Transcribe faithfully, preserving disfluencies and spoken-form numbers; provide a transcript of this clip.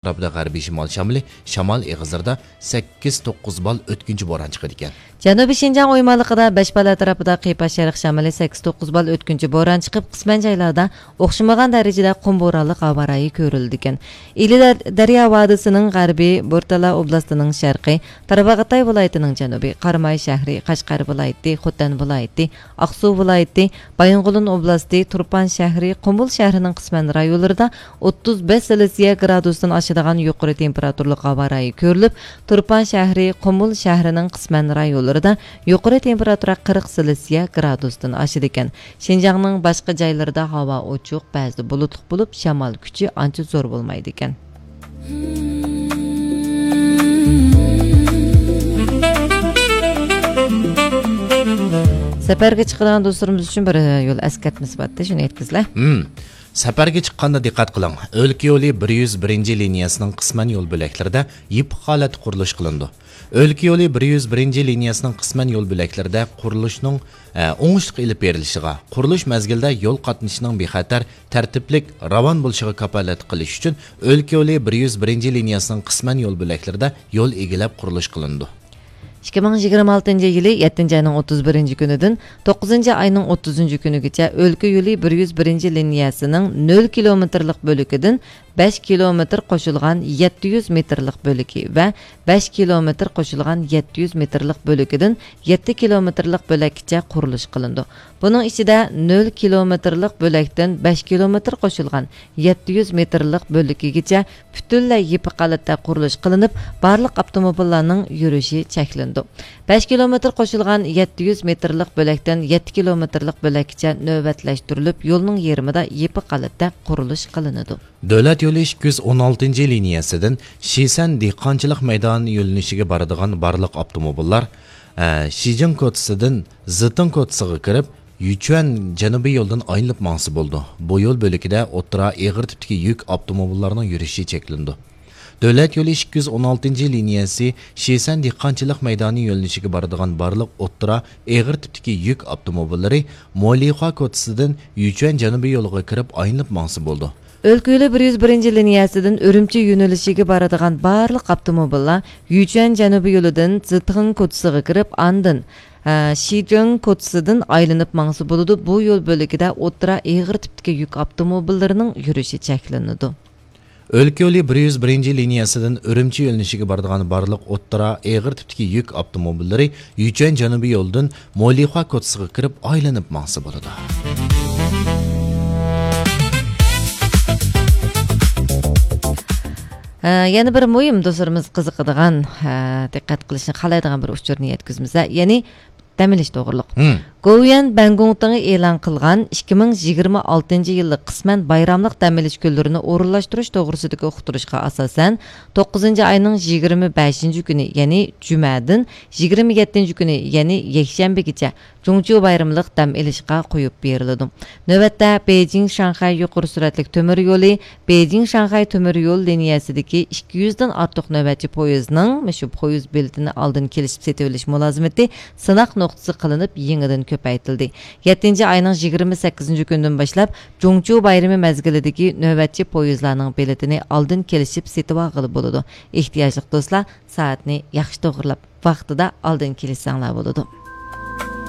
ئەتراپىدا غەربىي شىمال شامىلى، شامال ئېغىزلىرىدا سەككىز توققۇز بال ئۆتكۈنچى بوران چىقىدىكەن. جەنۇبىي شىنجاڭ ئويمانلىقىدا بەش بال ئەتراپىدا قىيپاش شەرق شامىلى سەككىز توققۇز بال ئۆتكۈنچى بوران چىقىپ، قىسمەن جايلاردا ئوخشىمىغان دەرىجىدە قۇم بورانلىق ھاۋا رايى كۆرۈلىدىكەن. ئىلى دەر-، دەريا ۋادىسىنىڭ غەربى، بورتالا ئوبلاستىنىڭ شەرقى، تارباغاتاي ۋىلايىتىنىڭ جەنۇبى، قاراماي شەھىرى، قەشقەر ۋىلايىتى، خوتەن ۋىلايىتى، ئاقسۇ ۋىلايىتى، بايىنغولىن ئوبلاستى، تۇرپان شەھىرى، قۇمۇل شەھىرىنىڭ قىسمەن رايونلىرىدا ئوتتۇز بەش سېلسىيە گرادۇستىن ئاشىدىغان يۇقىرى تېمپېراتۇرىلىق ھاۋا رايى كۆرۈلۈپ، تۇرپان شەھىرى، قۇمۇل شەھىرىنىڭ قىسمەن رايونلىرىدا يۇقىرى تېمپېراتۇرا قىرىق سېلسىيە گرادۇستىن ئاشىدىكەن. شىنجاڭنىڭ باشقا جايلىرىدا ھاۋا ئوچۇق، بەزىدە بۇلۇتلۇق بولۇپ، شامال كۈچى ئانچە زور بولمايدىكەن. سەپەرگە چىقىدىغان دوستلىرىمىز ئۈچۈن بىر يول ئەسكەرتمىسى بارتى، شۇنى ئېيتقىزلا. ھىم. سەپەرگە چىققاندا دىققەت قىلىڭ. ئۆلكە يولى بىر يۈز بىرىنچى لىنىيەسىنىڭ قىسمەن يول بۆلەكلىرىدە يېپىق ھالەتتە قۇرۇلۇش قىلىنىدۇ. ئۆلكە يولى بىر يۈز بىرىنچى لىنىيەسىنىڭ قىسمەن يول بۆلەكلىرىدە قۇرۇلۇشنىڭ، ئە، ئوڭۇشلۇق ئېلىپ بېرىلىشىغا، قۇرۇلۇش مەزگىلىدە يول قاتنىشىنىڭ بىخەتەر، تەرتىپلىك، راۋان بولۇشىغا كاپالەتلىك قىلىش ئۈچۈن ئۆلكە يولى بىر يۈز بىرىنچى لىنىيەسىنىڭ قىسمەن يول بۆلەكلىرىدە يول ئىگىلەپ قۇرۇلۇش قىلىنىدۇ. ئىككى مىڭ يىگىرمە ئالتىنچى يىلى يەتتىنچى ئاينىڭ ئوتتۇز بىرىنچى كۈنىدىن توققۇزىنچى ئاينىڭ ئوتتۇزىنچى كۈنىگىچە ئۆلكە يولى بىر يۈز بىرىنچى لىنىيەسىنىڭ نۆل كىلومېتىرلىق بۆلىكىدىن بەش كىلومېتىر قوشۇلغان يەتتە يۈز مېتىرلىق بۆلىكى ۋە بەش كىلومېتىر قوشۇلغان يەتتە يۈز مېتىرلىق بۆلىكىدىن يەتتە كىلومېتىرلىق بۆلەككىچە قۇرۇلۇش قىلىنىدۇ. بۇنىڭ ئىچىدە نۆل كىلومېتىرلىق بۆلەكتىن بەش كىلومېتىر قوشۇلغان يەتتە يۈز مېتىرلىق بۆلىكىگىچە پۈتۈنلەي يېپىق ھالەتتە قۇرۇلۇش قىلىنىپ، بارلىق ئاپتوموبىللارنىڭ يۈرۈشى چەكلىنىدۇ. بەش كىلومېتىر قوشۇلغان يەتتە يۈز مېتىرلىق بۆلەكتىن يەتتە كىلومېتىرلىق بۆلەككىچە نۆۋەتلەشتۈرۈلۈپ، يولنىڭ يېرىمىدا يېپىق ھالەتتە قۇرۇلۇش قىلىنىدۇ. دۆلەت يولى ئىككى يۈز ئون ئالتىنچى لىنىيەسىدىن شىسەن دېھقانچىلىق مەيدانى يۆنىلىشىگە بارىدىغان بارلىق ئاپتوموبىللار، ئە، شىجىڭ كوچىسىدىن زىتىڭ كوچىسىغا كىرىپ، يۈچۈەن جەنۇبىي يولىدىن ئايلىنىپ ماڭسا بولىدۇ. بۇ يول بۆلىكىدە ئوتتۇرا ئېغىر تىپتىكى يۈك ئاپتوموبىللارنىڭ يۈرۈشى چەكلىنىدۇ. دۆلەت يولى ئىككى يۈز ئون ئالتىنچى لىنىيەسى شىسەن دېھقانچىلىق مەيدانى يۆنىلىشىگە بارىدىغان بارلىق ئوتتۇرا ئېغىر تىپتىكى يۈك ئاپتوموبىللىرى مولىخۇا كوچىسىدىن يۈچۈەن جەنۇبىي يولىغا كىرىپ ئايلىنىپ ماڭسا بولىدۇ. ئۆلكە يولى بىر يۈز بىرىنچى لىنىيەسىدىن ئۈرۈمچى يۆنىلىشىگە بارىدىغان بارلىق ئاپتوموبىللار يۈچۈەن جەنۇبىي يولىدىن زىتىڭ كوچىسىغا كىرىپ، ئاندىن، ھە، شىجىڭ كوچىسىدىن ئايلىنىپ ماڭسا بولىدۇ. بۇ يول بۆلىكىدە ئوتتۇرا ئېغىر تىپتىكى يۈك ئاپتوموبىللىرىنىڭ يۈرۈشى چەكلىنىدۇ. ئۆلكە يولى بىر يۈز بىرىنچى لىنىيەسىدىن ئۈرۈمچى يۆنىلىشىگە بارىدىغان بارلىق ئوتتۇرا ئېغىر تىپتىكى يۈك ئاپتوموبىللىرى يۈچۈەن جەنۇبىي يولىدىن مولىخۇا كوچىسىغا كىرىپ ئايلىنىپ ماڭسا بولىدۇ. ھە، يەنە بىر مۇھىم دوستلىرىمىز قىزىقىدىغان، ھە، دىققەت قىلىشنى خالايدىغان بىر ئۇچۇرنى يەتكۈزىمىز. يەنى دەم ئېلىش توغرۇلۇق. ھىم. گوۋۇيۈەن بەنگوڭتىڭى ئېلان قىلغان ئىككى مىڭ يىگىرمە ئالتىنچى يىللىق قىسمەن بايراملىق دەم ئېلىش كۈنلىرىنى ئورۇنلاشتۇرۇش توغرىسىدىكى ئۇقتۇرۇشقا ئاساسەن، توققۇزىنچى ئاينىڭ يىگىرمە بەشىنچى كۈنى، يەنى جۈمەدىن يىگىرمە يەتتىنچى كۈنى، يەنى يەكشەنبىگىچە جۇڭچيۇ بايرىملىق دەم ئېلىشقا قويۇپ بېرىلىدۇ. نۆۋەتتە بېيجىڭ شاڭخەي يۇقىرى سۈرئەتلىك تۆمۈر يولى، بېيجىڭ شاڭخەي تۆمۈر يول لىنىيەسىدىكى ئىككى يۈزدىن ئارتۇق نۆۋەتچى پويىزنىڭ مۇشۇ پويىز بېلىتىنى ئالدىن كېلىشىپ سېتىۋېلىش مۇلازىمىتى سىناق نۇقتىسى قىلىنىپ، يېڭىدىن كۆپەيتىلدى. يەتتىنچى ئاينىڭ يىگىرمە سەككىزىنچى كۈنىدىن باشلاپ، جۇڭچيۇ بايرىمى مەزگىلىدىكى نۆۋەتچى پويىزلارنىڭ بېلىتىنى ئالدىن كېلىشىپ سېتىۋالغىلى بولىدۇ. ئېھتىياجلىق دوستلار سائەتنى ياخشى توغرىلاپ، ۋاقتىدا ئالدىن كېلىشسەڭلار بولىدۇ.